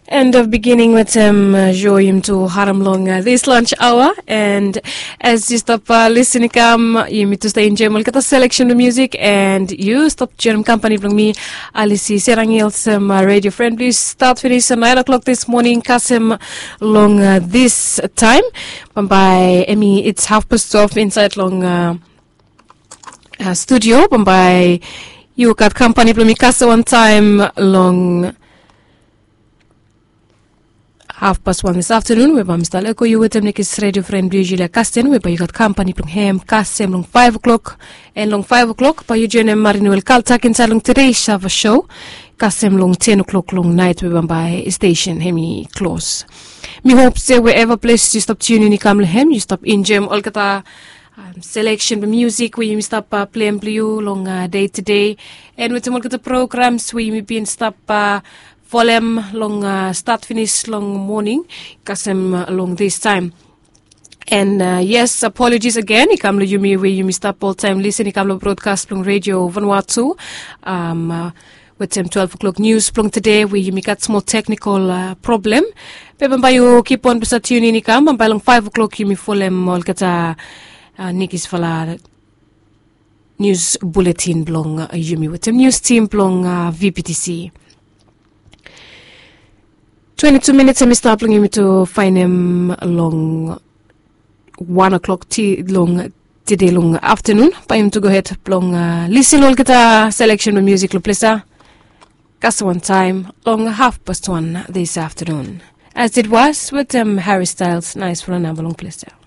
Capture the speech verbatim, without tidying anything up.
End of beginning wetem sho yumi tu harim long this lunch hour, and as yu stap lisin i kam, yumi tu stap enjoim olgeta selection blong music, and yu stap joinim kampani blong mi, Alisi Serangil, olsem radio friend blong yu, start finis nine o'clock this morning kasem long this time. Bambae emi it's half past twelve insaed long studio. Bambae yu gat kampani blong mi kasem wantaem long half past one this afternoon, we bae mi stap lego yu wetem nekis radio friend blong yu, Julia Kasten, we bae yu gat kampani blong hem kasem long five o'clock. And long five o'clock bae yu joinim Marinuel Kaltak insaed long Today Shava show kasem long ten o'clock long naet, we bambae station hemi klos. Mi hop se wherever ples yu stap tunin i kam long hem, yu stap enjoim olgeta selection blong music we yumi stap pleim blong yu long day to day, and wetem olgeta programs we yumi bin stap folem long start finis long moning kasem long this time. And yes, apologies again i kam long yumi we yumi stap oltaem lisin i kam long broadcast blong Radio Vanuatu wetem twelve o'clock news blong today we yumi gat smol technical problem. Be bambae yu kip on blong stap tunin i kam, bambae long five o'clock yumi folem olgeta nekisfala news bulletin blong yumi wetem news team blong VPTC. Twenty-two minutes hemi stap long yumi tu faenem long one o'clock ti long tede long aftanun. Bae yumi tu gohed blong lisin olgeta selection blong music long ples ia kasem wantaem long half past one this aftanun. As it was wetem Harry Styles, naesfala namba long ples ia.